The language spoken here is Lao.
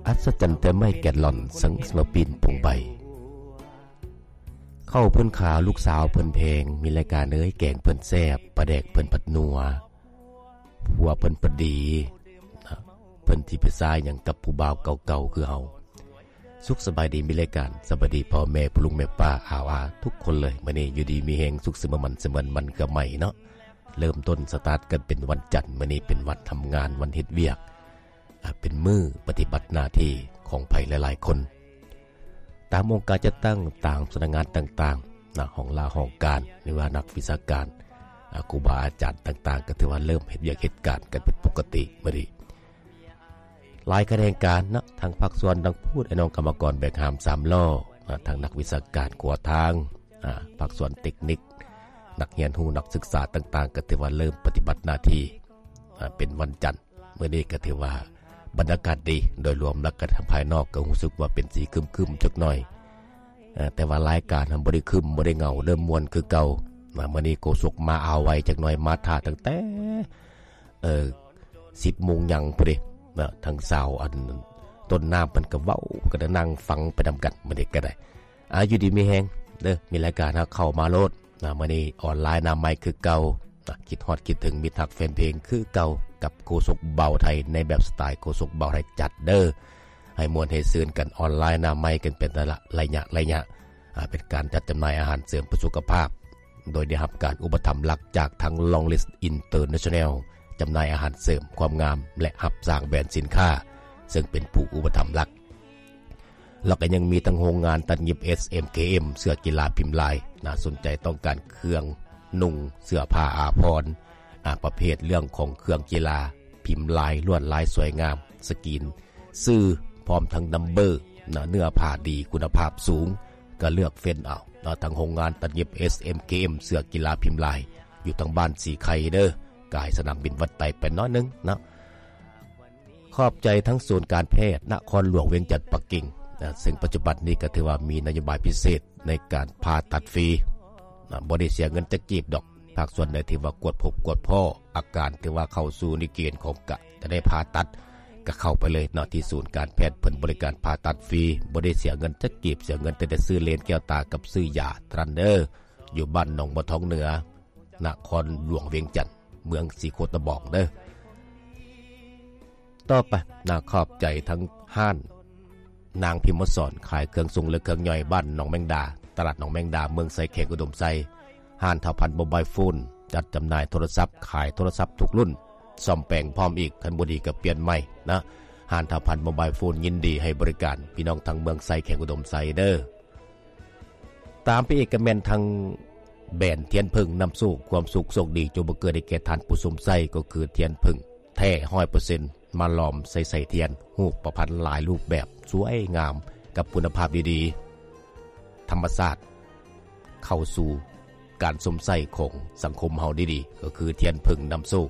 ອັດສະຈັນແຕ່ໄມ້ແກນລອນ ສັງສະມາປີນປົງໃບ. ເຂົ້າເພິ່ນຂາວ ລູກສາວເພິ່ນແພງ ມີລາຍການເອີຍ ແກງເພິ່ນແຊບ ປາແດກເພິ່ນພັດນົວ ຜົວເພິ່ນພັດດີ ເພິ່ນຊິໄປຊາຫຍັງກັບຜູ້ບ່າວເກົ່າໆຄືເຮົາ. ສຸກສະບາຍດີ ມີລາຍການ ສະບາຍດີພໍ່ແມ່ ພໍ່ລຸງແມ່ປ້າ ອາວອາ ທຸກຄົນເລີຍ. ມື້ນີ້ຢູ່ດີມີແຮງ ສຸກສະເໝີ ໝັນສະເໝີ ມັນກະໄໝເນາະ. ເລີ່ມຕົ້ນສະຕາດກັນເປັນວັນຈັນ ມື້ນີ້ເປັນວັນທຳງານ ວັນເຮັດວຽກ ອາ ເປັນມື້ປະຕິບັດໜ້າທີ່ຂອງໃຜຫຼາຍໆຄົນ. ຕາມອົງການຈັດຕັ້ງ ຕາມສຳນັກງານຕ່າງໆນະ ຫ້ອງລາຫ້ອງການ ຫຼືວ່ານັກວິຊາການ ອາ ຄູບາອາຈານຕ່າງໆ ກໍຖືວ່າເລີ່ມເຮັດວຽກເຮັດການກັນເປັນປົກກະຕິມື້ນີ້. ຫຼາຍຂະແໜງການເນາະ ທັງພາກສ່ວນ ທັງພູດ ໄອ້ນ້ອງກຳມະກອນແບກຫາມສາມລໍ້ ອາ ທັງນັກວິຊາການຂົວທາງ ອາ ພາກສ່ວນເຕັກນິກ ນັກຮຽນຮູ້ ນັກສຶກສາຕ່າງໆ ກໍຖືວ່າເລີ່ມປະຕິບັດໜ້າທີ່ ອາ ເປັນວັນຈັນ. ມື້ນີ້ກໍຖືວ່າບັນຍາກາດດີ ໂດຍລວມແລ້ວກໍທາງພາຍນອກກໍຮູ້ສຶກວ່າເປັນສີຄຶ້ມໆຈັກໜ້ອຍ ເອີ ແຕ່ວ່າລາຍການຫັ້ນບໍ່ໄດ້ຄຶ້ມ ບໍ່ໄດ້ເຫງົາເດີ ມ່ວນຄືເກົ່າ. ອາ ມື້ນີ້ໂຄສົກມາອາໄວຈັກໜ້ອຍ ມາຖ້າຕັ້ງແຕ່ ເອີ ສິບໂມງຫຍັງພຸ້ນເດ ເນາະ ທັງຊາວອັນຕົ້ນນ້ຳເພິ່ນກໍເວົ້າ ກໍໄດ້ນັ່ງຟັງໄປນຳກັນ ມື້ນີ້ກໍໄດ້ ອາ ຢູ່ດີມີແຮງເດີ ມີລາຍການຫາເຂົ້າມາໂລດ. ນະ ມື້ນີ້ອອນລາຍໜ້າໃໝ່ຄືເກົ່າ ນະ ຄິດຮອດຄິດເຖິງມິດຮັກແຟນເພງຄືເກົ່າ ກັບໂຄສົກບ່າວໄທ ໃນແບບສະໄຕໂຄສົກບ່າວໄທຈັດເດີ ໃຫ້ມ່ວນໃຫ້ຊື່ນກັນ ອອນລາຍໜ້າໃໝ່ກັນເປັນໄລຍະໄລຍະ ອາ ເປັນການຈັດຈຳໜ່າຍອາຫານເສີມເພື່ອສຸຂະພາບ ໂດຍໄດ້ຮັບການອຸປະຖຳຫຼັກຈາກທາງ Longest International ຈຳໜ່າຍອາຫານເສີມຄວາມງາມ ແລະ ຮັບສ້າງແບຣນສິນຄ້າ ເຊິ່ງເປັນຜູ້ອຸປະຖຳຫຼັກ. ແລ້ວກໍຍັງມີທັງໂຮງງານຕັດຫຍິບ ເອສ ເອັມ ເຄ ເອັມ ເສື້ອກິລາພິມລາຍ ໜ້າສົນໃຈ ຕ້ອງການເຄື່ອງນຸ່ງ ເສື້ອຜ້າອາພອນ ອາ ປະເພດເລື່ອງຂອງເຄື່ອງກິລາ ພິມລາຍ ລວດລາຍສວຍງາມ ສະກຣີນຊື່ ພ້ອມທັງນຳເບີ ນະ ເນື້ອຜ້າດີ ຄຸນນະພາບສູງ ກໍເລືອກເຟັນເອົາ ນະ ທາງໂຮງງານຕັດຫຍິບ ເອສ ເອັມ ເຄ ເອັມ ເສື້ອກິລາພິມລາຍ ຢູ່ທາງບ້ານສີໄຄເດີ ກາຍສະໜາມບິນວັດໄຕໄປໜ້ອຍໜຶ່ງເນາະ. ຂອບໃຈທັງສູນການແພດນະຄອນຫຼວງວຽງຈັນ ປັກກິ່ງ ນະ ເຊິ່ງປັດຈຸບັນນີ້ກໍຖືວ່າມີນະໂຍບາຍພິເສດໃນການຜ່າຕັດຟຣີ ນະ ບໍ່ໄດ້ເສຍເງິນຈັກກີບດອກ. ພາກສ່ວນໃດທີ່ວ່າກວດພົບກວດພໍ້ອາການ ຖືວ່າເຂົ້າສູ່ໃນເກນຂອງກະຈະໄດ້ຜ່າຕັດ ກໍເຂົ້າໄປເລີຍເນາະ ທີ່ສູນການແພດເພິ່ນບໍລິການຜ່າຕັດຟຣີ ບໍ່ໄດ້ເສຍເງິນຈັກກີບ ເສຍເງິນແຕ່ໄດ້ຊື້ເລນແກ້ວຕາກັບຊື້ຢາເທົ່ານັ້ນເດີ ຢູ່ບ້ານໜອງບົວທອງເໜືອ ນະຄອນຫຼວງວຽງຈັນ ເມືອງສີໂຄດຕະບອງເດີ. ຕໍ່ໄປ ນະ ຂອບໃຈທັງຮ້ານນາງພິມມະສອນ ຂາຍເຄື່ອງຊົງ ແລະ ເຄື່ອງຍ່ອຍ ບ້ານໜອງແມງດາ ຕະຫຼາດໜອງແມງດາ ເມືອງໄຊ ແຂວງອຸດົມໄຊ, ຮ້ານທ້າວພັນໂມບາຍໂຟນ ຈັດຈຳໜ່າຍໂທລະສັບ ຂາຍໂທລະສັບທຸກລຸ້ນ ສ້ອມແປງພ້ອມອີກ ຄັນບໍ່ດີກໍປ່ຽນໃໝ່ນະ. ຮ້ານທ້າວພັນໂມບາຍໂຟນ ຍິນດີໃຫ້ບໍລິການ ພີ່ນ້ອງທັງເມືອງໄຊ ແຂວງອຸດົມໄຊເດີ. ຕາມໄປອີກກໍແມ່ນທາງແບຣນທຽນເຜິ້ງນຳໂຊກ ຄວາມສຸກໂຊກດີ ຈົ່ງບັງເກີດໃຫ້ແກ່ທ່ານຜູ້ຊົມໃຊ້ ກໍຄືທຽນເຜິ້ງແທ້ຮ້ອຍເປີເຊັນ ມາຫຼອມໃສ່ໄສ້ທຽນ ຮູບປະພັນຫຼາຍຮູບແບບ ສວຍງາມ ກັບຄຸນນະພາບດີໆ ທຳມະຊາດ ເຂົ້າສູ່ການຊົມໃຊ້ຂອງສັງຄົມເຮົາດີໆ ກໍຄືທຽນເຜິ້ງນຳໂຊກ.